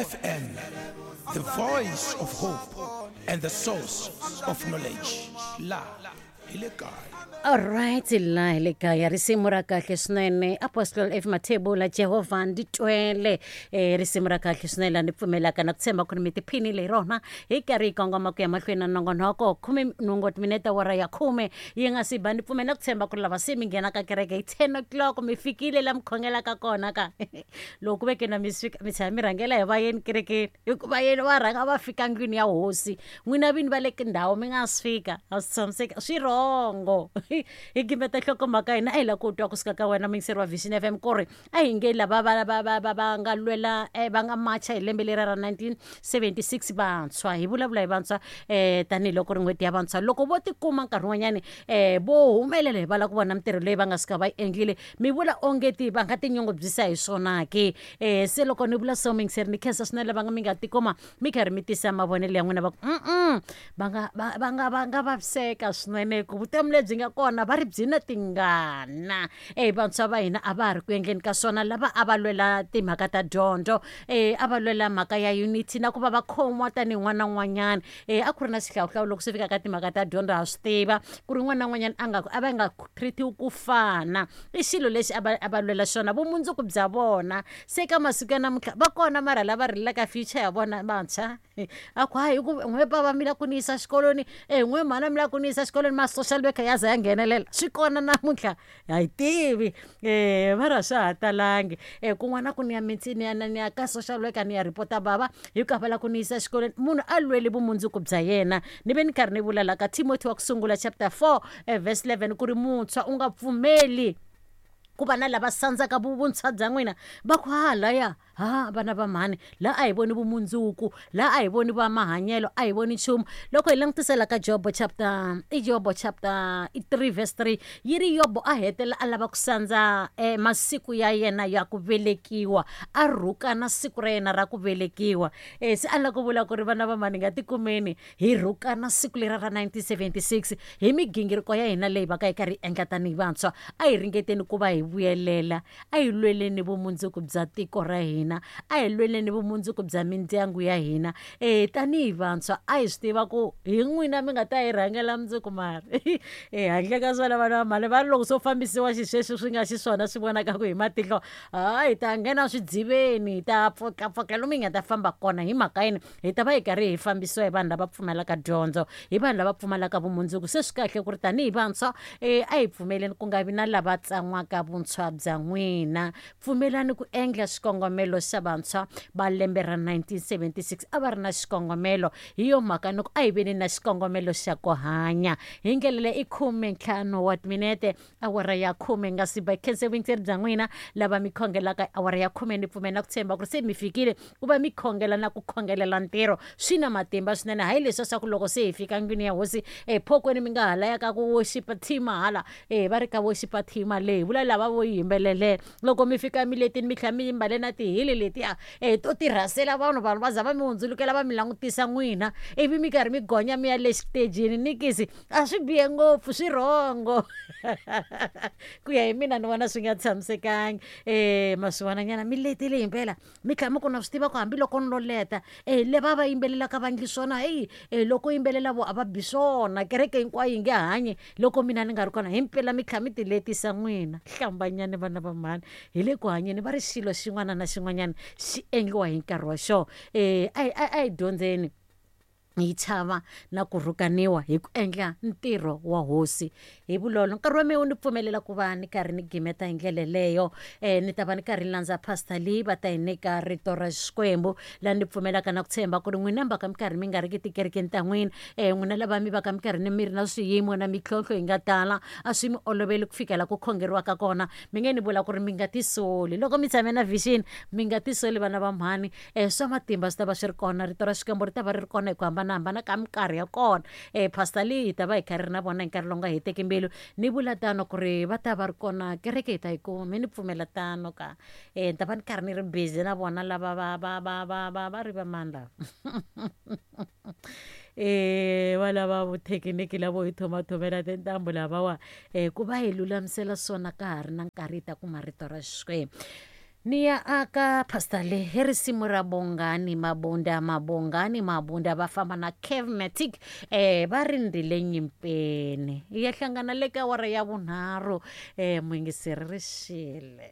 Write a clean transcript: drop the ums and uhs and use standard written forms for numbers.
FM, the voice of hope and the source of knowledge. La hi le kaya. Alright la hi le kaya risimu ra kahle swinene Apostle F Mathebula Jehovha ndzi twele risimu ra kahle swinene la ni pfumelaka na ku tshemba ku ri mi tiphinile hi rona hi karhi hi kongoma ku ya mahlweni na nongonoko khume nhungu timinete awara ya khume yi nga si ba ni pfumela ku tshemba ku ri lava se mi nghenaka kereke hi 10 o'clock mi fikile la mi khongelaka kona ka loko ku veke na mi fika mi tshama mi rhangela hi vayeni kerekeni hikuva yena va rhanga va fika ndlwini ya hosi n'wina vini va le tindhawu mi nga si fika a swi tshamiseka swi rhongo hi gimeta nhlokomhaka hina a hi lava ku twa kusuka ka wena muyingiseri wa Vision FM ku ri a hi nge lava va va va va va nga lwela va nga macha hi lembe leri ra 1976 vantshwa hi vulavula hi vantshwa tanihiloko ri n'hweti ya vantshwa loko vo tikuma nkarhi wun'wanyani vo humelela hi va lava ku vona mintirho leyi va nga suka va yi endlile mi vula onge ti va nga tinyungubyisa hi swona ke se loko ni vula so muyingiseri ni khensa swinene lava nga mi nga tikuma mi karhi mi tisa mavonelo ya n'wina va ku va nga va va nga va nga vaviseka swinene ku vutomi lebyi nga kona va ri byi na tingana e vantshwa va hina a va ha ri ku endleni ka swona lava a va lwela timhaka ta dyondzo a va lwela mhaka ya unity na ku va va khomiwa tanihi n'wana na un'wanyana a ku ri na xihlawuhlawu loko swi fika ka timhaka ta dyondzo ha swi tiva ku ri n'wana na un'wanyana a nga a va nga treat-iwi ku fana i xilo lexi a va a va lwela xona vumundzuku bya vona se ka masiku ya namuntlha va kona mara lava rilelaka future ya vona vantshwa a ku hayi ku n'we bava mi la ku ni yisa xikolweni e n'we mhana mi la ku ni yisa xikolweni ma social worker ya za ya nghenelela swi kona namuntlha ha yi tivi mara swa ha talangi kun'wana ku ni ya ni ya ni ya ka social worker ni ya report-a bava hi ku a va la ku ni yisa xikolweni munhu a lweli vumundzuku bya yena ni ve ni karhi ni vula la ka Timothy wa ku sungula chapter 4 verse 11 ku ri muntshwa u nga pfumeli ku va na lava sandzaka vuntshwa bya n'wina va ku halaya ha vana va mhani la a hi voni vumundzuku la a hi voni va mahanyelo a hi voni nchumu loko hi langutisela ka Jobo chapter i Jobo chapter i 3 verse 3 yi ri Yobo a hetelela a lava ku sandza masiku ya yena ya ku velekiwa a rhukana siku ra yena ra ku velekiwa se a lava ku vula ku ri vana va mhani nga tikumeni hi rhukana siku lera ra 1976 hi migingiriko ya hina leyi va ka yi karhi yi endla tanihi vantshwa a hi ringeteni ku va hi vuyelela a hi lweleni vumundzuku bya tiko ra hina a hi lweleni vumundzuku bya mindyangu ya hina tanihi vantshwa a hi swi tiva ku hi n'wina mi nga ta hi rhangela mundzuku mara handle ka swona vana va mhani va ri loko swo fambisiwa xisweswi swi nga xiswona swi vonakaku hi matihlo ha hi ta nghena swidziveni hi ta pfukapfuka lomu hi nga ta famba kona hi mhaka yini hi ta va hi karhi hi fambisiwa hi vanhu lava pfumalaka dyondzo hi vanhu lava pfumalaka vumundzuku se swi kahle ku ri tanihi vantshwa a hi pfumeleni ku nga vi na lava tsan'waka vuntshwa bya n'wina pfumelani ku endla xikongomelo xa vantshwa va lembe ra 1976 a va ri na xikongomelo hi yo mhaka ni ku a hi veni na xikongomelo xa ku hanya hi ndlela leyi i khumentlhanu wa timinete awara ya khume nga si ba khense vuyingiseri bya n'wina lava mi khongelaka awara ya khume ni pfumela na ku tshemba ku ri se mi fikile ku va mi khongela na ku khongelela ntirho swi na matimba swinene hayi leswi swa ku loko se hi fika ndlwini ya hosi ephokweni mi nga hala ya ka ku worship team hala va ri ka worship team leyi vula lava vo yimbelelela loko mi fika miletini mi tlhela mi yimbale na tihili letiya to tirhasela vanhu vanhu va za va mi hundzulukela va mi langutisa n'wina ivi mi karhi mi gonya mi ya le xitejini nikisi a swi bihe ngopfu swi rhongo ku ya hi mina ni vona swi nga tshamisekangi ma swi vonanyana mi letile himpela mi tlhela mi ku na swi tiva ku hambiloko ni lo leta leva va yimbelelaka va ndli swona heyi loko yimbelela vo a va bi swona kereke hinkwayo yi nge hanyi loko mina ni nga ri kona himpela mi tlhela mi ti letisa n'wina hlambanyani vana va mhani hi le ku hanyeni va ri xilo xin'wana na xin'wanyana xi endliwa hi nkarhi wa xona a hi dyondzeni hi chava na ku rhukaniwa hi ku endla ntirho wa hosi hi vulolo nkarhi wa mehe wu ni pfumelela ku va ni karhi ni gimeta hi ndlela leyo ni ta va ni karhi ni landza pastor Lee va ta hi nyika rito ra Xikwembu laha ni pfumelaka na ku tshemba ku ri n'wina mi va ka mi karhi mi nga ri ki tikerekeni ta n'wina n'wina lava mi va ka mi karhi ni mi ri na swiyimo na mintlhontlho yi nga tala a swi mi oloveli ku fikela ku khongeriwaka kona mi nge ni vula ku ri mi nga tisoli loko mi tshame na vision mi nga tisoli vana va mhani swa matimba swi ta va swi ri kona rito ra Xikwembu ri ta va ri ri kona hi ku hambanahambana ka minkarhi ya kona pastor Lee hi ta va hi kha ri ri na vona hi nkarhi lowu nga heteki mbilu ni vula tano ku ri va ta va ri kona kereke hi ta yi kuma mi ni pfumela tano ka ni ta va ni karhi ni ri busy na vona lava va va va va va va ri va mani lava va lava vuthekiniki lavo hi thomathomela tintambu lavawa ku va hi lulamisela swona ka ha ri na nkarhi hi ta kuma rito ra Xikwembu. Ni ya aka pastor le hi risimu ra Bongani Mabunda Mabongani Mabunda va famba na Kevmatic eh va rindzile nyimpeni. Hi ya hlangana le ka awara ya vunharhu eh muyingiseri ri xile.